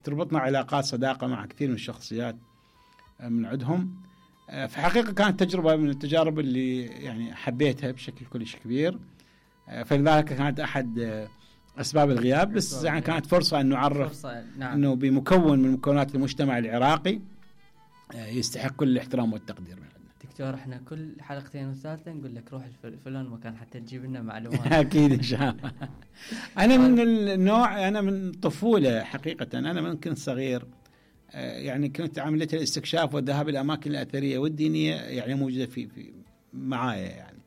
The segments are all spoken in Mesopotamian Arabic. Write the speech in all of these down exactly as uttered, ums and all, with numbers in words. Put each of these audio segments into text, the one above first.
تربطنا علاقات صداقة مع كثير من الشخصيات من عندهم. في حقيقة كانت تجربة من التجارب اللي يعني حبيتها بشكل كلش كبير، فلذلك كانت أحد أسباب الغياب. بس يعني كانت فرصة أن نعرف نعم. أنه بمكون من مكونات المجتمع العراقي يستحق كل الاحترام والتقدير من عندنا. دكتور احنا كل حلقتين وثالثة نقول لك روح الفلان مكان حتى تجيب لنا معلومات. أكيد إن شاء الله. أنا من النوع، أنا من طفولة حقيقة، أنا من كنت صغير يعني كنت عملية الاستكشاف والذهاب إلى الأماكن الأثرية والدينية يعني موجودة في في معايا يعني.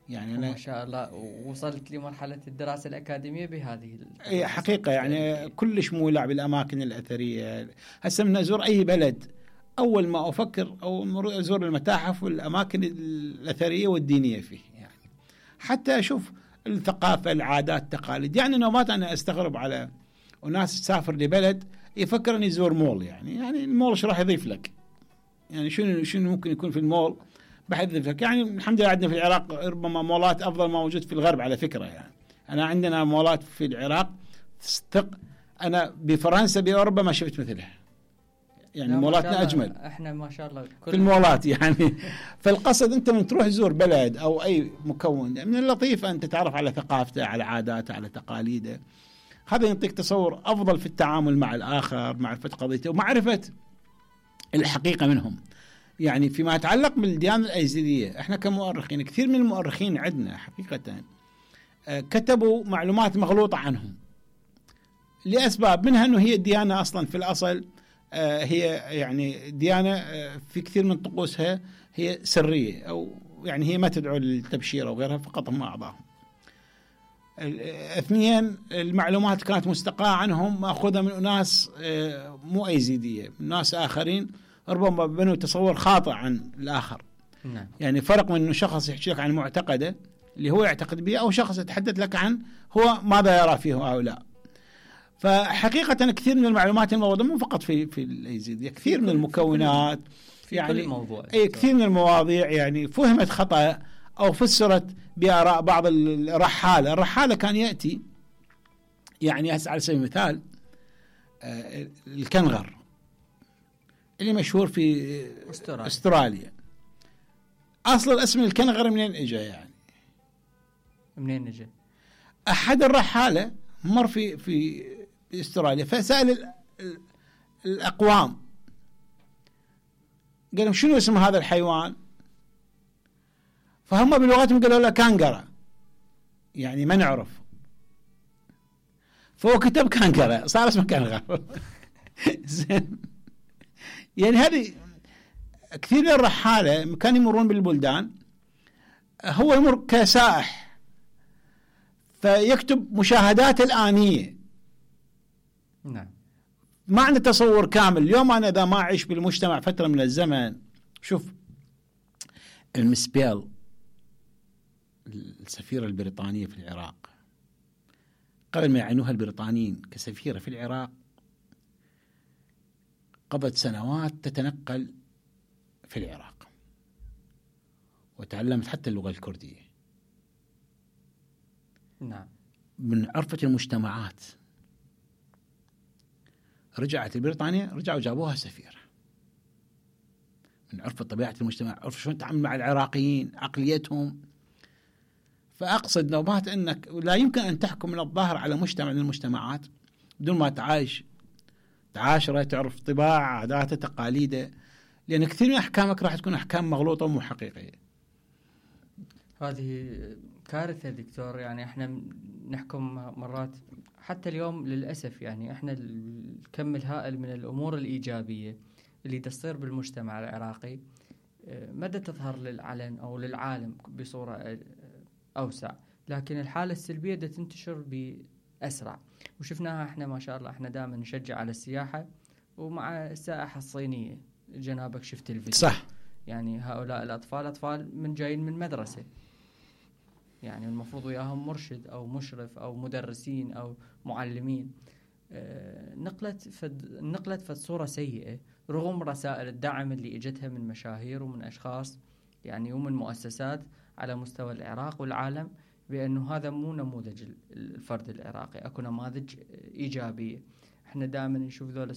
يعني أنا ما شاء الله وصلت لمرحلة الدراسة الأكاديمية بهذه الدراسة. حقيقة يعني كلش مولع بالأماكن الأثرية. هسه من أزور أي بلد أول ما أفكر أو أزور المتاحف والأماكن الأثرية والدينية فيه، يعني حتى أشوف الثقافة العادات التقاليد. يعني نومات أنا أستغرب على وناس تسافر لبلد يفكر أن يزور مول، يعني يعني المول إيش راح يضيف لك؟ يعني شنو شنو ممكن يكون في المول بحيث لك؟ يعني الحمد لله عندنا في العراق ربما مولات أفضل ما موجود في الغرب على فكرة. يعني أنا عندنا مولات في العراق تصدق أنا بفرنسا بأوروبا ما شفت مثلها، يعني مولاتنا أجمل احنا ما شاء الله في المولات يعني. فالقصد أنت من تروح تزور بلد أو أي مكون من اللطيف أن تتعرف على ثقافته، على عاداته، على تقاليده. هذا يعطيك تصور أفضل في التعامل مع الآخر، معرفة قضيته ومعرفة الحقيقة منهم. يعني فيما يتعلق بالديانة الأيزيدية، احنا كمؤرخين كثير من المؤرخين عندنا حقيقة كتبوا معلومات مغلوطة عنهم لأسباب، منها أنه هي الديانة أصلا في الأصل هي يعني ديانة في كثير من طقوسها هي سرية، أو يعني هي ما تدعو للتبشير أو غيرها، فقط هم أعضاهم. اثنين، المعلومات كانت مستقاة عنهم مأخوذة من أناس مو أيزيدية، من ناس آخرين ربما بنوا تصور خاطئ عن الآخر. نعم. يعني فرق من أنه شخص يحكي لك عن معتقده اللي هو يعتقد به، أو شخص يتحدث لك عن هو ماذا يرى فيه أو لا. فحقيقة كثير من المعلومات الموجودة مو فقط في في الأيزيدية، كثير من المكونات في يعني كل موضوع. أي كثير من المواضيع يعني فهمت خطأ أو فسرت بآراء بعض الرحالة. الرحالة كان يأتي يعني على سبيل المثال الكنغر اللي مشهور في أستراليا. أستراليا. أصل الاسم الكنغر منين إجا؟ يعني منين إجا؟ أحد الرحالة مر في في أستراليا فسأل الأقوام قال لهم شنو اسم هذا الحيوان؟ فهم بلغتهم قالوا له كانغرا، يعني ما نعرف. فهو كتب كانغرا صار اسمه كانغر. زين. يعني هذه كثير من الرحالة كانوا يمرون بالبلدان، هو يمر كسائح فيكتب مشاهدات الآنية. نعم. ما عنده تصور كامل. اليوم أنا إذا ما أعيش بالمجتمع فترة من الزمن، شوف المسبيل السفيرة البريطانية في العراق قبل ما يعينوها البريطانيين كسفيرة في العراق قضت سنوات تتنقل في العراق وتعلمت حتى اللغة الكردية. نعم. من عرفة المجتمعات. رجعت البريطانية رجعوا جابوها سفيرة من عرفة طبيعة المجتمع، عرف شلون تتعامل مع العراقيين، عقليتهم. فأقصد نوبات أنك لا يمكن أن تحكم من الظاهر على مجتمع من المجتمعات بدون ما تعايش تعاشره، تعرف طباع عاداته تقاليده، لأن كثير من أحكامك راح تكون أحكام مغلوطة ومو حقيقية. هذه كارثة دكتور. يعني احنا نحكم مرات حتى اليوم للأسف، يعني احنا الكم الهائل من الأمور الإيجابية اللي تصير بالمجتمع العراقي مدى تظهر للعلن أو للعالم بصورة أوسع، لكن الحالة السلبية دا تنتشر بأسرع. وشفناها احنا ما شاء الله، احنا دائما نشجع على السياحة، ومع السائحة الصينية جنابك شفت الفيديو. صح. يعني هؤلاء الأطفال أطفال من جايين من مدرسة، يعني المفروض وياهم مرشد أو مشرف أو مدرسين أو معلمين. آه نقلت فد نقلت فد صورة سيئة رغم رسائل الدعم اللي اجتها من مشاهير ومن أشخاص يعني ومن مؤسسات على مستوى العراق والعالم، بأنه هذا مو نموذج الفرد العراقي، أكو نماذج إيجابية. احنا دائما نشوف ذول